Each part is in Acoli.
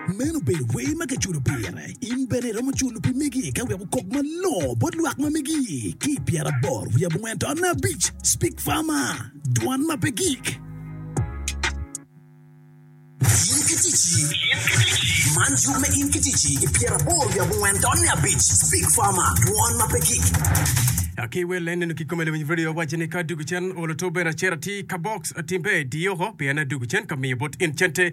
Meno obedo wer ma kiculo pire. In bene iromo culo pi megi ka wek okok malongo bot lwak ma megi ki i pyeraboro wiye abongwen taun abic. Speak Farmer, Dwan ma pe gik. In ki ticci. Man yub me In ki ticci i pyeraboro wiye abongwen taun abic. Speak Farmer, Dwan ma pe gik. Ki wel en neno kikome lawiny radio awaco ni ka adugu cen olo to bene acito atir ka box atimbe diyoko pien adugu cen ka miyo bot in cente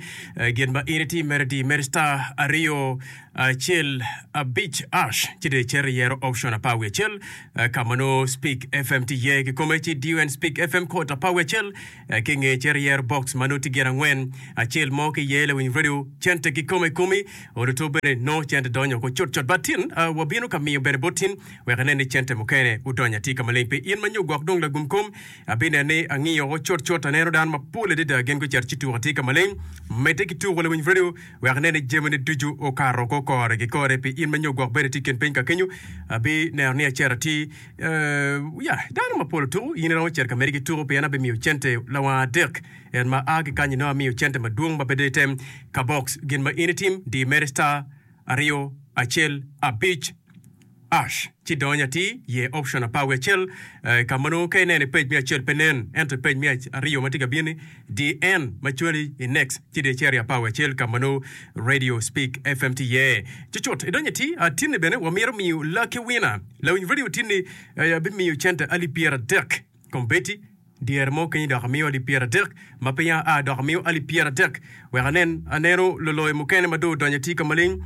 Gin ma in iti mere di mere star aryo acel abic ash ci dong icito iyero option apar wiye acel ka ma nongo Speak FM tye iye kikome ci idiyo en Speak FM code apar wiye acel ki inge icito iyero box ma nongo tye gin angwen acel mo ki iye lawiny radio cente kikome ikomi oruto bene nongo cente donyo oko cutcut but tin wabino ka miyo bene bot tin wek inen ni cente mukene odonyo atir ka maleng pi in ma nyo gwok dong lagum kom Abineno ni angiyo woko cutcut, aneno dano mapol adada gin gucito ci tuko atir ka maleng. Medde ki tuko lawiny redio wek inen ni jamine ducu okato oko kore ki kore pi in ma nyo gwok bene tye i kin piny ka kenyo. Abineno ni acito atir. Ya, dano mapol otuko, in iromo cito ka medde ki tuko pien abimiyo cente lawang adek. En ma a ki kany-ni nongo amiyo cente madwong ma pe dong item ka box. Gin ma in itim, di mere star aryo acel abic. Ash, ci dony atir, ye option apar wiye acel, ka ma nongo ka ineno i page me acel pe nen, ento i page me aryo ma tye ka bino-ni, di en ma cwali i next, ci dong icito i apar wiye acel ka ma nongo Radio Speak FM tye iye. Cucut idonyo atir, tinni bene wamito miyo lucky winner. Lawiny radio tinni abimiyo cente alip pyeradek. Kombeddi, dyere mo kenyo dok amiyo alip pyeradek, ma peya aa dok amiyo alip pyeradek, wek anen aneno luloyo mukene ma dong odonyo atir ka maleng.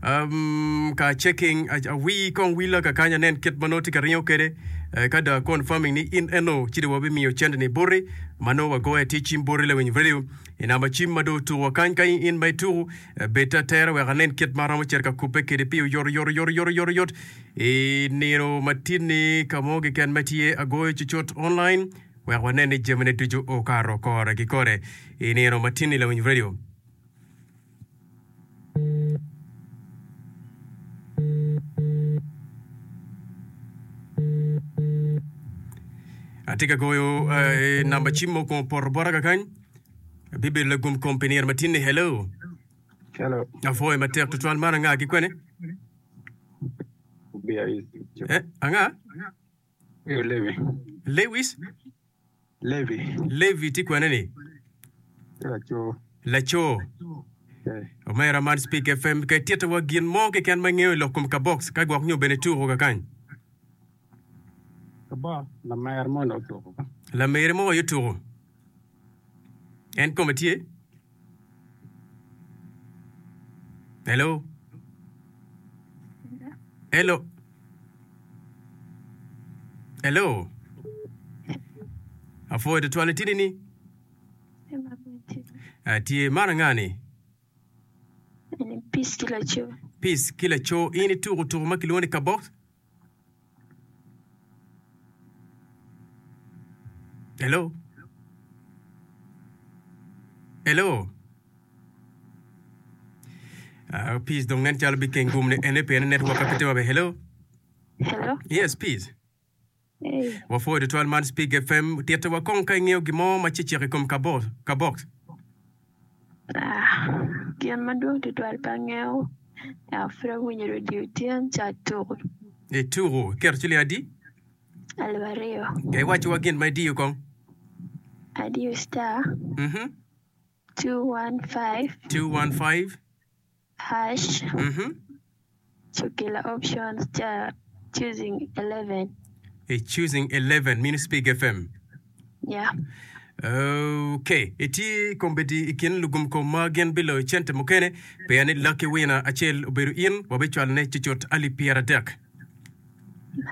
Um, ka checking, awii kong willa kakany anen kit ma nongo tye ka ringo kwede. Eh, ka dong confirming ni in eno, ci dong wabimiyo cente-ni boti, ma nongo wagoyo atir cim boti lawiny radio i namba cim ma dong otuko wa kany. Ka in ma ituko, eh, bed atera wek anen kit ma aromo cito ka kubbe kwede pi oyot oyot oyot oyot oyot oyot. I nino ma tinni, ka mo keken ma tye agoyo cucut online wek wanen ni jamine ducu okato kore ki kore i nino ma tinni lawiny radio. Atye ka goyo eh, namba cim mo kun opoto bota kakany. Abibedo lagum kom pi nino ma tinni. Hello. Hello. Apwoyo matek tutwal man anga ki kwene? Eh, anga? Levi. Lewis? Levi. Levi tye kwene ni? Laco. Laco. Eh. Omera man Speak FM ka ititowa gin mo keken ma ingeyo i lok kom kabox ka gwok nyo bene tuko kakany. Kabox lamere mo dong otuko. Lamere mo aye otuko. En kome tye? Hello? Hello? Hello? Apwoyo tutwal itini ni? Atye. Man anga ni? Peace ki laco. Peace ki laco. In ituko tuko ma kilwongo ni kabox? Hello? Hello? Uh, peace dong nen calo bikeng gum ni ene pien network pe tye maber. Hello? Hello? Yes, peace. Hey. Wapwoyo tutwal man Speak FM. Tito wa kong ka ingeyo gin mo ma cecek i kom kabo, kabox. Ah, gin madwong tutwal pe angeyo. Ento pud awinyo radio tyen ca tuku. Ituku, iketo ciling adi? 2000. Ka iwacciwa gin ma idiyo kong. Adiyo star Mhm. 215 215. hash Mhm. Cukila options ca choosing 11. I choosing 11 mino Speak FM. Yeah. Ok, itye kombeddi i kin lugum kom ma gin biloyo cente mukene pien ni lucky winner acel obedo in, wabicwalone cucut alip pyeradek.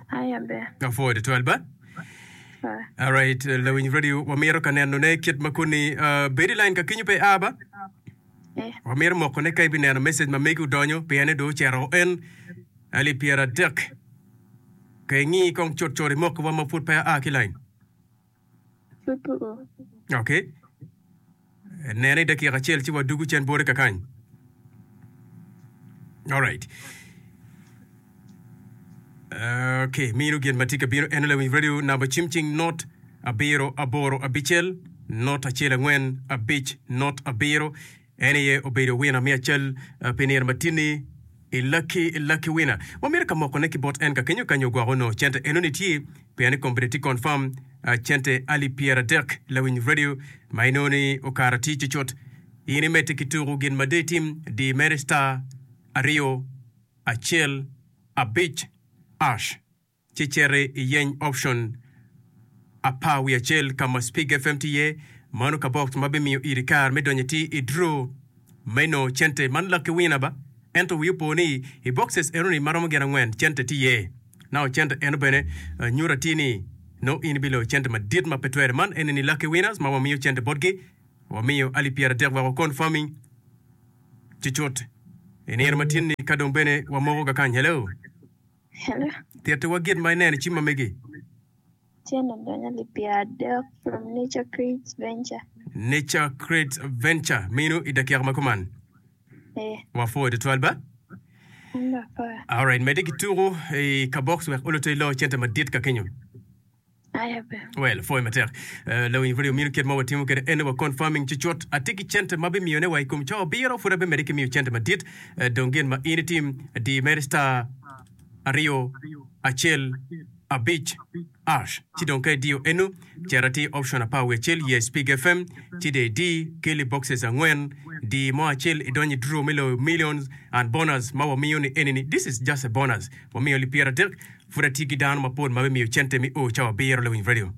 Aya ber. Apwoyo tutwal ba. Ah. Alright, lawiny radio wamito ka nenone kit ma koni uh, bed i line ka kenyo pe a ba. Wamito moko ne ka ibineno message ma megi odonyo pien ni dong ocito en alip pyeradek. Ka ingi kong cut cut imok wa ma pud pe aa ki line. Ok. Nene i dakika acel ci wadugu cen bote kakany. Alright. Ok, mino gin ma tye ka bino en lawiny radio namba cim cing not abiro aboro abicel not acel angwen abic not abiro. En aye obedo winner me acel pi nino matinni i Lucky Lucky Winner. Wamito ka moko ne ki bot en ka kenyo ka nyo gwoko onongo cente eno ni tye pien ni kombeddi tye confirm cente alip 30 lawiny radio ma inongo ni okato atir cucut. In imedde ki tuku gin ma dong itim di mere star aryo acel abic ash. ci citi iyeny option 11 ka ma Spig FM tye iye. Mano kabox ma bimiyo iri kare me donyo atir i draw me nongo cente. Man lucky winner ba? Ento wi opo ni i boxes enoni maromo gin angwen cente tye iye. Now cente eno bene nyuto atir ni nongo in ibiloyo cente madit ma pe twere. Man eni ni lucky winners ma wamiyo cente botgi. Wamiyo alip 30 wek wakon farming cucut i nino ma tin-ni ka dong bene wamoko kakany. Hello. Hello. Tittiwa gin ma ineno i cim ma megi. Tyen odonyo alip 30 from Nature Creates Venture. Nature Creates Venture mino i dakika ma kuman. Eh. Wapwoyo tutwal ba. An bene apwoyo. Alright, medde ki tuku i kabox wek oloto ilo cente madit ka kenyo. Well, pwoyo matek. Uh, lawiny pud omino kit ma watimo kwede ene wa confirming cucut. Atye ki cente ma bimiyone wa i kom cawa abiro, pud abimedde ki miyo cente madit. Uh, dong gin ma in itim, di mere star aryo acel abic ash. Ci dong ka idiyo eno, cit atir option 11 ye Spig FM, ci dong idi keli boxes angwen, di mo acel idony i draw me loyo millions and bonus ma wamiyo ni eni ni this is just a bonus. Wamiyo li 30 Pud atye ki dano mapol ma bimiyo cente me o cawa abiro lawiny radio.